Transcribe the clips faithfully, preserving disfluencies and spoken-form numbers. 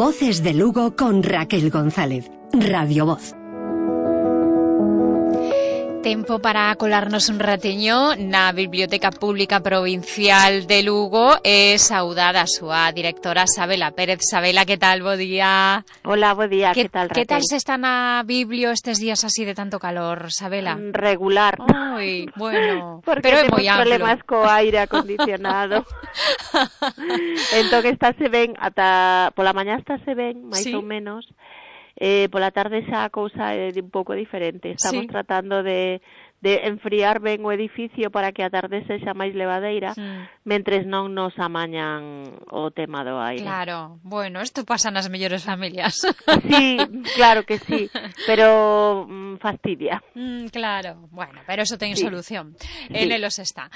Voces de Lugo con Raquel González. Radio Voz. Tempo para colarnos un ratiño na Biblioteca Pública Provincial de Lugo e saudar a súa directora Sabela Pérez. Sabela, que tal? Bo día. Hola, bo día, que, que tal, Raquel? Que tal se está na Biblio estes días así de tanto calor, Sabela? Regular. Ai, bueno, porque pero é temos moi amplo. Problemas co aire acondicionado. Entón estáse ben, ata pola mañá estáse ben, máis sí. ou menos. Eh, pola tarde xa a cousa é un pouco diferente. Estamos sí. tratando de, de enfriar ben o edificio para que a tarde sexa máis levadeira, mm. mentres non nos amañan o tema do aire. Claro, bueno, isto pasa nas mellores familias. Sí, claro que sí, pero mm, fastidia. Mm, claro, bueno, pero eso ten sí. solución. Sí. En elos está.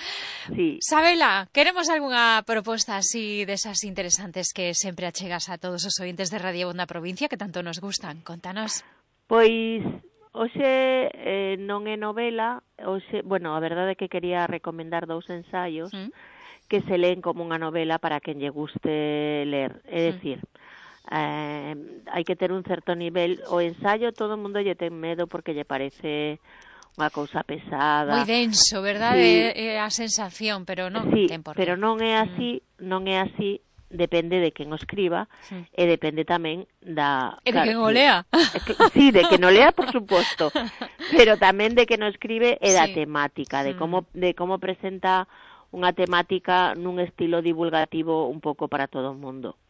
Sí. Sabela, queremos algunha proposta así desas interesantes que sempre achegas a todos os ointes de Radio Voz na provincia que tanto nos gustan? Contanos. Pois hoxe eh, non é novela, hoxe, bueno, a verdade é que quería recomendar dous ensaios ¿Mm? que se leen como unha novela para quen lle guste ler, é dicir, eh, hai que ter un certo nivel. O ensayo todo o mundo lle ten medo porque lle parece unha cousa pesada. Moi denso, verdade? Sí. É a sensación, pero non sí, ten por qué. Pero non é así, mm. non é así. Depende de quen o escriba sí. e depende tamén da... E de claro, quen o lea. Sí, de quen o lea, por suposto, pero tamén de quen o escribe e da sí. temática, de como, de como presenta unha temática nun estilo divulgativo un pouco para todo o mundo.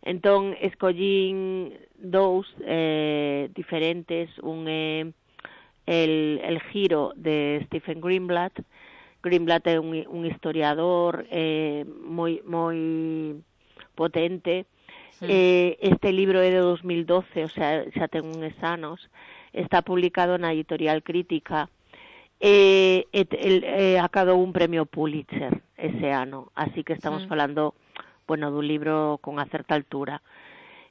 Entón, escollín dous eh, diferentes, un é eh, el, el giro de Stephen Greenblatt. Greenblatt é un, un historiador eh, moi moi potente. Sí. Eh, este libro é de dos mil doce, o sea, xa ten uns anos. Está publicado na Editorial Crítica. Eh, et, el, eh, acadou un premio Pulitzer ese ano, así que estamos sí. falando, bueno, dun libro con a certa altura.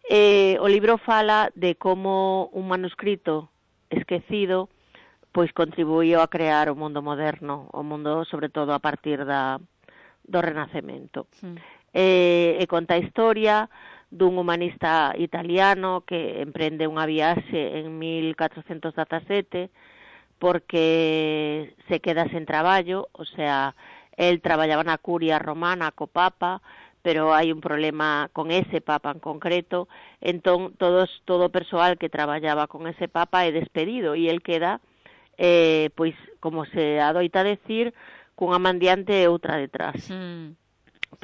Eh, o libro fala de como un manuscrito esquecido pois contribuíu a crear o mundo moderno, o mundo sobre todo a partir da, do Renacemento. Sí. E, e conta a historia dun humanista italiano que emprende unha viaxe en mil catrocentos dezasete porque se queda sen traballo, o sea, el traballaba na curia romana co papa, pero hai un problema con ese papa en concreto, entón todos, todo o persoal que traballaba con ese papa é despedido e el queda Eh, pois, como se adoita decir, cunha mandiante e outra detrás. Mm.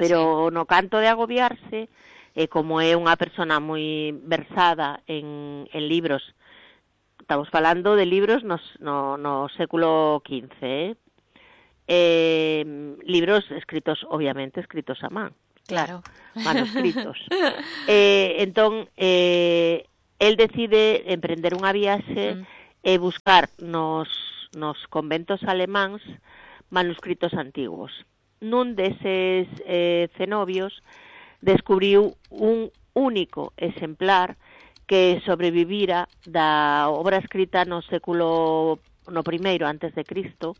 Pero sí. no canto de agobiarse, eh, como é unha persona moi versada en, en libros, estamos falando de libros no, no, no século quince, eh? Eh, libros escritos, obviamente, escritos a man. Claro. Manuscritos. eh, entón, eh, el decide emprender unha viaxe mm. e buscar nos, nos conventos alemáns manuscritos antiguos. Nun deses eh, cenobios descubriu un único exemplar que sobrevivira da obra escrita no século no primeiro antes de Cristo,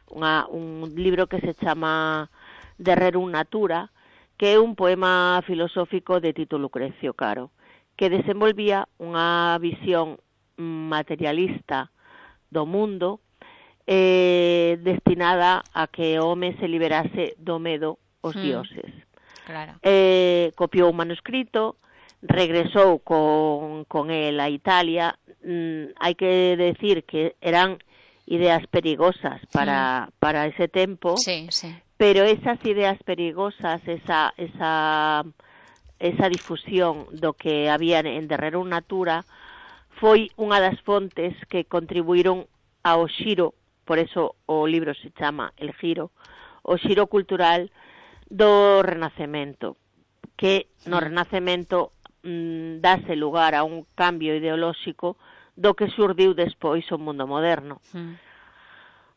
unha, un libro que se chama De Rerum Natura, que é un poema filosófico de Tito Lucrecio Caro, que desenvolvía unha visión materialista do mundo eh, destinada a que o home se liberase do medo aos mm. dioses. Claro. Eh, copiou o manuscrito, regresou con, con el a Italia. Mm, hai que decir que eran ideas perigosas para, mm. para ese tempo, sí, sí. pero esas ideas perigosas, esa, esa, esa difusión do que había en De Rerum Natura foi unha das fontes que contribuíron ao xiro, por eso o libro se chama El Giro, o xiro cultural do Renacemento, que no Renacemento mmm, dase lugar a un cambio ideolóxico do que xurdiu despois o mundo moderno. Mm.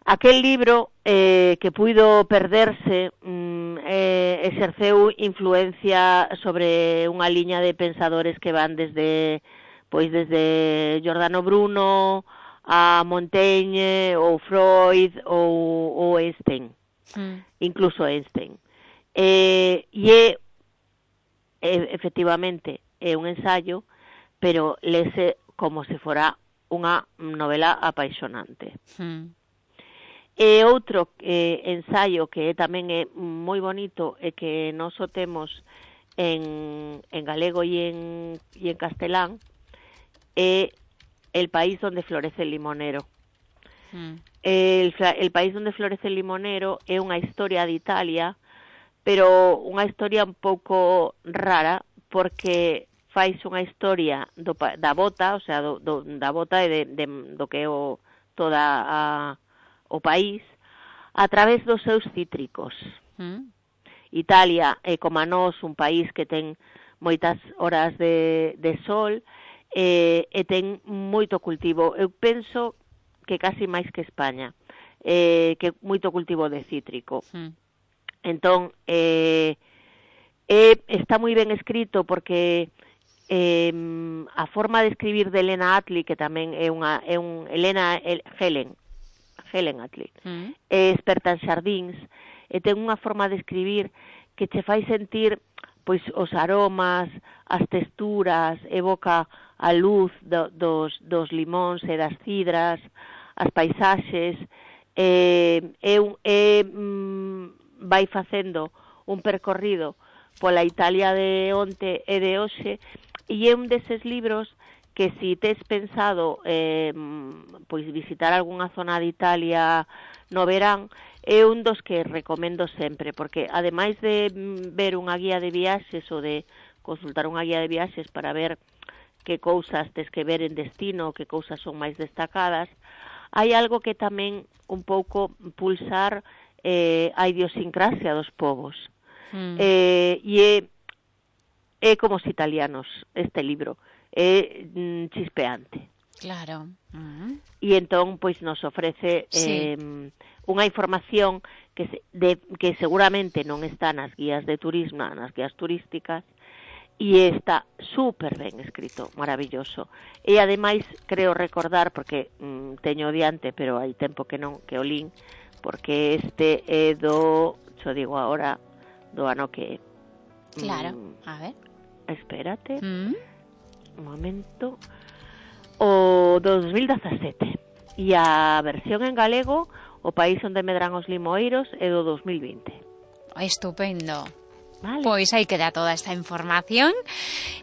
Aquel libro eh, que puido perderse mmm, eh, exerceu influencia sobre unha liña de pensadores que van desde pois desde Giordano Bruno a Montaigne ou Freud ou, ou Einstein, mm. incluso Einstein. Eh, e é, efectivamente, é un ensayo, pero lese como se fora unha novela apaixonante. Mm. E outro eh, ensaio que tamén é moi bonito e que nós o temos en, en galego e en, e en castelán é El país donde florece el limonero. Mm. El, el país donde florece el limonero é unha historia de Italia, pero unha historia un pouco rara, porque fais unha historia do, da bota, o sea, do, do, da bota e de, de, do que é o, toda a o país, a través dos seus cítricos. Mm. Italia é, como a nós, un país que ten moitas horas de, de sol e, e ten moito cultivo. Eu penso que casi máis que España, eh, que moito cultivo de cítrico. Mm. Entón, eh, eh, está moi ben escrito porque eh, a forma de escribir de Elena Attlee, que tamén é unha é un Elena el, Helen, Helen Attlee, mm. é experta en xardíns, e ten unha forma de escribir que che fai sentir pois os aromas, as texturas, evoca a luz do, dos, dos limóns e das cidras, as paisaxes, e, e, e mm, vai facendo un percorrido pola Italia de onte e de hoxe, e é un deses libros que si tes pensado eh, pois visitar algunha zona de Italia no verán, é un dos que recomendo sempre, porque ademais de ver unha guía de viaxes ou de consultar unha guía de viaxes para ver que cousas tes que ver en destino, que cousas son máis destacadas, hai algo que tamén un pouco pulsar eh, a idiosincrasia dos povos. Mm. Eh, e é, é como os italianos este libro. É mm, chispeante. Claro. Uh-huh. E entón, pois, nos ofrece sí. eh, unha información que, se, de, que seguramente non está nas guías de turismo, nas guías turísticas, e está súper ben escrito, maravilloso. E ademais, creo recordar, porque mm, teño diante, pero hai tempo que non, que o lín, porque este é do, xo digo agora, do ano que... Claro, mm, a ver. Espérate... Mm. Un momento, o dos mil dezasete, e a versión en galego, O país onde medran os limoeiros, é do dos mil vinte. Estupendo. Vale. Pois aí queda toda esta información.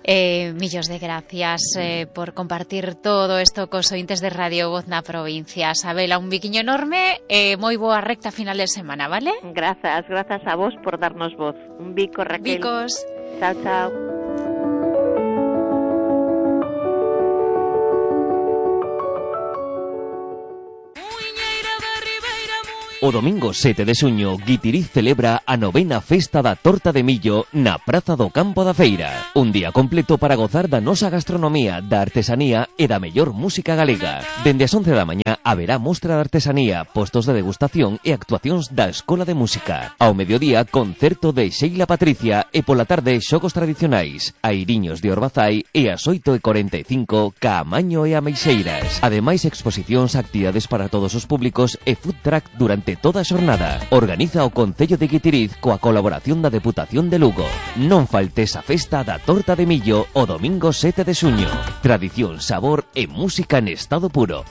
Eh, millos de gracias eh, por compartir todo isto cos ointes de Radio Voz na provincia. Sabela, un biquiño enorme e eh, moi boa recta final de semana, vale? Grazas, grazas a vos por darnos voz. Un bico, Raquel. Bicos. Chao, chao. O domingo sete de xuño, Guitiriz celebra a novena festa da torta de millo na Praza do Campo da Feira. Un día completo para gozar da nosa gastronomía, da artesanía e da mellor música galega. Dende as once da mañá haberá mostra de artesanía, postos de degustación e actuacións da Escola de Música. Ao mediodía, concerto de Sheila Patricia e pola tarde xogos tradicionais, airiños de Orbazai e ás oito e cuarenta e cinco Caamaño e Ameixeiras. Ademais, exposicións, actividades para todos os públicos e food truck durante toda a xornada. Organiza o Concello de Guitiriz coa colaboración da Deputación de Lugo. Non faltes a festa da torta de millo o domingo sete de xuño. Tradición, sabor e música en estado puro.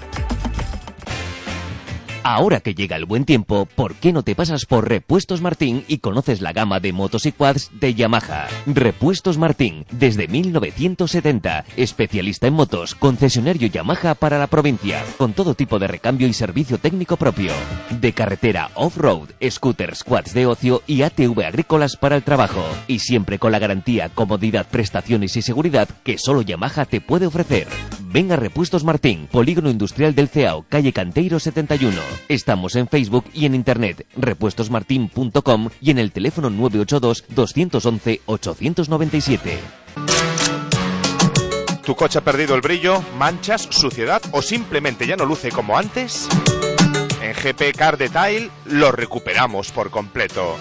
Ahora que llega el buen tiempo, ¿por qué no te pasas por Repuestos Martín y conoces la gama de motos y quads de Yamaha? Repuestos Martín, desde mil novecientos setenta, especialista en motos, concesionario Yamaha para la provincia, con todo tipo de recambio y servicio técnico propio. De carretera off-road, scooters, quads de ocio y A T V agrícolas para el trabajo. Y siempre con la garantía, comodidad, prestaciones y seguridad que solo Yamaha te puede ofrecer. Ven a Repuestos Martín, Polígono Industrial del Ceao, calle Canteiro setenta y uno. Estamos en Facebook y en internet, repuestos martin punto com y en el teléfono nueve ocho dos, dos once, ocho nueve siete. ¿Tu coche ha perdido el brillo, manchas, suciedad o simplemente ya no luce como antes? En G P Car Detail lo recuperamos por completo.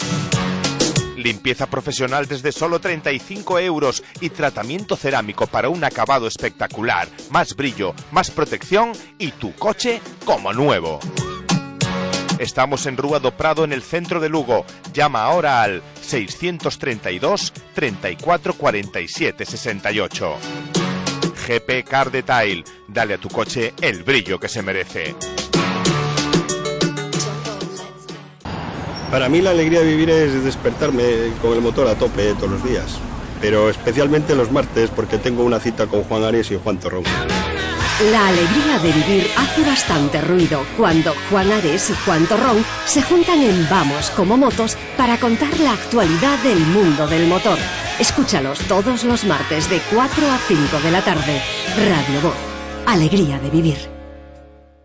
Limpieza profesional desde solo treinta y cinco euros y tratamiento cerámico para un acabado espectacular, más brillo, más protección y tu coche como nuevo. Estamos en Rúa do Prado, en el centro de Lugo. Llama ahora al seiscientos treinta y dos, treinta y cuatro, cuarenta y siete, sesenta y ocho. G P Car Detail. Dale a tu coche el brillo que se merece. Para mí la alegría de vivir es despertarme con el motor a tope todos los días, pero especialmente los martes porque tengo una cita con Juan Ares y Juan Torrón. La alegría de vivir hace bastante ruido cuando Juan Ares y Juan Torrón se juntan en Vamos como Motos para contar la actualidad del mundo del motor. Escúchalos todos los martes de cuatro a cinco de la tarde. Radio Voz. Alegría de vivir.